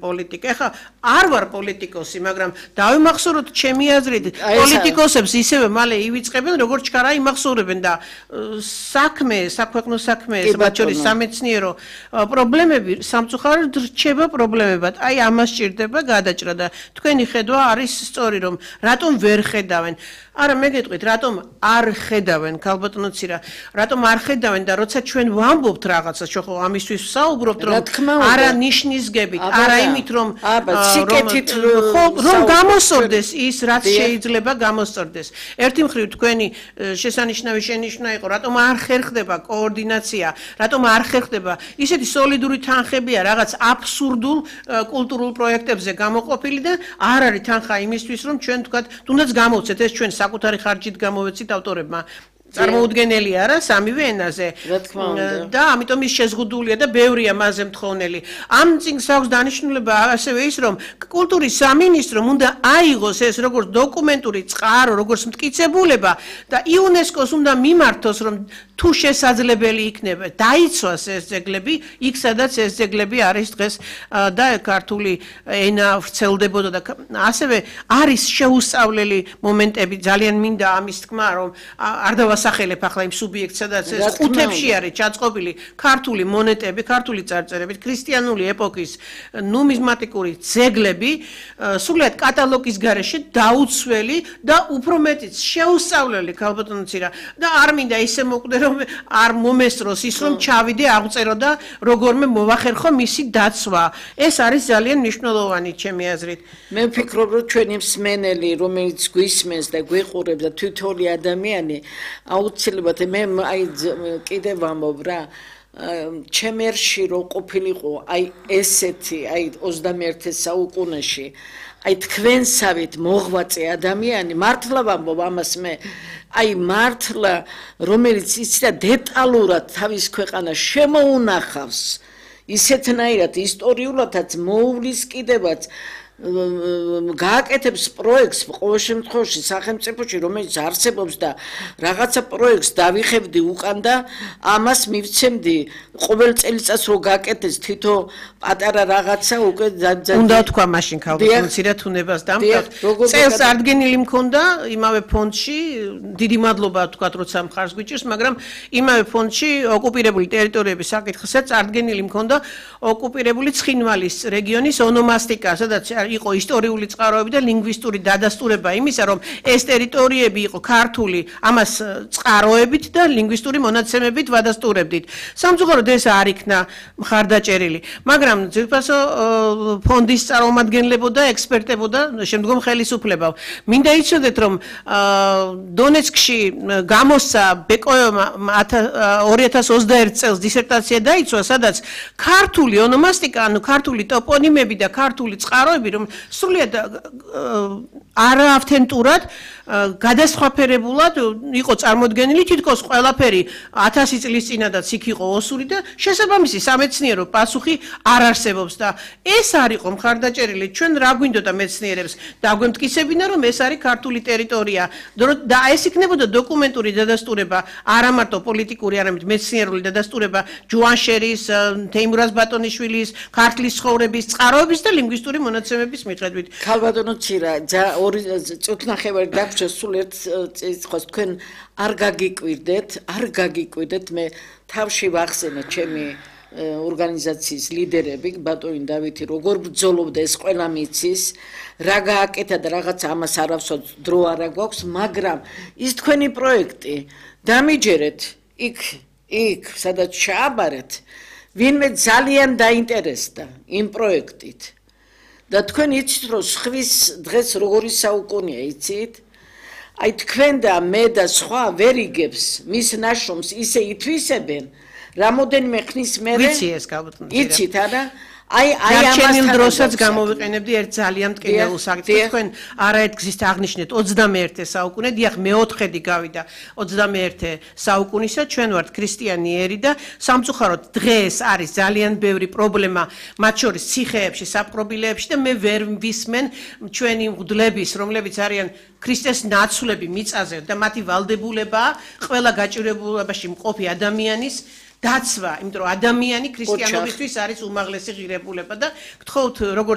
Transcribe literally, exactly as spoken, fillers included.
პოლიტიკა. ეხლა არ ვარ პოლიტიკოსი, მაგრამ დავიმახსოვროთ ჩემი აზრით, პოლიტიკოსებს ისევე მალე ივიწყებენ, როგორც ჩქარა იმახსოვრებენ და საქმე, საქვეყნო საქმე, მათ შორის სამეცნიერო პრობლემები სამწუხაროდ რჩება პრობლემებად. აი ამას სჭირდება გადაჭრა და თქვენი ხედვა არის სწორი, რომ რატომ ვერ ხედავენ. არა მე გეტყვით, რატომ არ ხედავენ, ქალბატონო ცირა, რატომ არ ხედავენ და როცა ჩვენ ვამბობთ რაღაცა, ხო ამისთვის ვსაუბრობთ, რომ არა ნიშნისგებით, არა იმით რომ რომ გამოსწორდეს ის რაც შეიძლება გამოსწორდეს. ერთი მხრივ თქვენი შესანიშნავი შენიშვნა იყო, რატომ არ ხერხდება კოორდინაცია, რატომ არ ხერხდება ისეთი სოლიდური თანხებია რაღაც აბსურდულ კულტურულ პროექტებზე გამოყოფილი და არ არის თანხა იმისთვის რომ ჩვენ თქვათ თუნდაც გამოვცეთ ეს ჩვენ საკუთარი ხარჯით გამოვეცით ავტორებმა წარმოუდგენელი არა სამივე ენაზე და ამიტომ ის შეზღუდულია და ბევრია მასზე მთხოვნელი. ამ წიგნს აქვს დანიშნულება ასევე ის, რომ კულტურის სამინისტრომ უნდა აიღოს ეს როგორც დოკუმენტური წყარო, როგორც მტკიცებულება და იუნესკოს უნდა მიმართოს, რომ თუ შესაძლებელი იქნება, დაიცვას ეს ძეგლები, იქ სადაც ეს ძეგლები არის დღეს და ქართული ენა ვრცელდებოდა და ასევე არის შეუსწავლელი მომენტები, ძალიან მინდა ამის თქმა, რომ არ დავასახელებ ახლა იმ სუბიექტს, სადაც ეს ხუთებში არის ჩაწყობილი ქართული მონეტები, ქართული წარწერებით, ქრისტიანული ეპოქის ნუმიზმატიკური ძეგლები, სრულიად კატალოგის გარეშე დაუცველი და უფრო მეტიც შეუსწავლელი ქალბატონო ცირა და არ მინდა ისე მოკვდე რომ არ მომესწროს ის რომ ჩავიდე აღწერო და როგორმე მოვახერხო მისი დაცვა. ეს არის ძალიან მნიშვნელოვანი ჩემი აზრით. მე ვფიქრობ რომ ჩვენი მსმენელი რომელიც გვისმენს და გვიყურებს და თვითონი ადამიანი აუცილებლად მე აი კიდევ ვამბობ რა ჩემერში რო ყოფილიყო აი ესეთი აი ოცდამეერთე საუკუნეში აი თქვენსავით მოღვაწე ადამიანი მართლა ვამბობ ამას მე აი მართლა რომელიც იცი და დეტალურად თავის ქვეყანას შემოუნახავს ისეთნაირად ისტორიულადაც მოუვლის კიდევაც გააკეთებს პროექტს ყოველ შემთხვევაში სახელმწიფოში რომელიც არსებობს და რაღაცა პროექტს დავიხებდი უკან და ამას მივცემდი ყოველ წელიწადს რო გააკეთეს თითო პატარა რაღაცა უკვე უნდა თქვა მაშინ ქალბატონო ცირად უნებას დამკვდრ წელს ადგენილი მქონდა იმავე ფონდში დიდი მადლობა თქვა როცა მხარს გვიჭირს მაგრამ იმავე ფონდში ოკუპირებული ტერიტორიების საკითხსაც ადგენილი მქონდა ოკუპირებული ცხინვალის რეგიონის ონომასტიკა სადაც იყო ისტორიული წყაროები და ლინგვისტური დადასტურება იმისა, რომ ეს ტერიტორიები იყო ქართული, ამას წყაროებით და ლინგვისტური მონაცემებით ვადასტურებდით. სამწუხაროდ ეს არ იქნა მხარდაჭერილი, მაგრამ ძირფასო ფონდის წარმომადგენლებო და ექსპერტებო და შემდგომ ხელისუფლებამ. მინდა იცოდეთ, რომ დონეცკში გამოსცა ბეკოევმა ორი ათას ოცდაერთ წელს დისერტაცია დაიცვა, სადაც ქართული ონომასტიკა, ანუ ქართული ტოპონიმები და ქართული წყაროები რომ სრულიად არაავთენტურად გადასხვაფერებულად იყო წარმოდგენილი თითქოს ყველაფერი ათასი წლის წინადაც იქ იყო ოსური და შესაბამისი სამეცნიერო პასუხი არ არსებობს და ეს არ იყო მხარდაჭერილი ჩვენ რა გვინდოდა მეცნიერებს დაგვემტკიცებინა რომ ეს არის ქართული ტერიტორია და ეს იქნებოდა დოკუმენტური დადასტურება არა მარტო პოლიტიკური არამედ მეცნიერული დადასტურება ჯუანშერის თეიმურაზ ბატონიშვილის ქართლის ცხოვრების წყაროების და ლინგვისტური მონაცემების მიხედვით ქალბატონო ცირა ორი წუთნახევარი დაგვრჩა სულ ერთ წელს თქვენ არ გაგიკვირდეთ არ გაგიკვირდეთ მე თავში ვახსენე ჩემი ორგანიზაციის ლიდერები ბატონი დავითი როგორ ბრძოლობდა ეს ყველა მიცის რა გააკეთა და რაღაც ამას არავსო დრო არა გვაქვს მაგრამ ის თქვენი პროექტი დამიჯერეთ იქ იქ სადაც ჩააბარეთ ვინმე ძალიან დაინტერესდა იმ პროექტით და თქვენ იცით რომ ხვის დღეს როგორი საუკუნეა იცით აი თქვენ და მე და სხვა ვერ იგებს მის ნაშრომს ისე ითვისებენ რამოდენიმე ხნის მერე ვიცი ეს გავუტნე იცით არა აი აი ამასთან დროსაც გამოვიყენებდი ერთ ძალიან მტკივნეულ საკითხს თქვენ არაერთგზის აღნიშნეთ ოცდამეერთე საუკუნე დიახ მეოთხედი გავიდა ოცდამეერთე საუკუნისა ჩვენ ვართ ქრისტიანი ერი და სამწუხაროდ დღეს არის ძალიან ბევრი პრობლემა მათ შორის ციხეებში საპყრობილეებში და მე ვერ ვისმენ ჩვენი მღვდლების რომლებიც არიან ქრისტეს ნაცვლები მიწაზე და მათი ვალდებულება ყველა გაჭირებულებაში მყოფი ადამიანის დაცვა, იმიტომ რომ ადამიანი ქრისტიანობისთვის არის უმაღლესი ღირებულება და გთხოვთ როგორც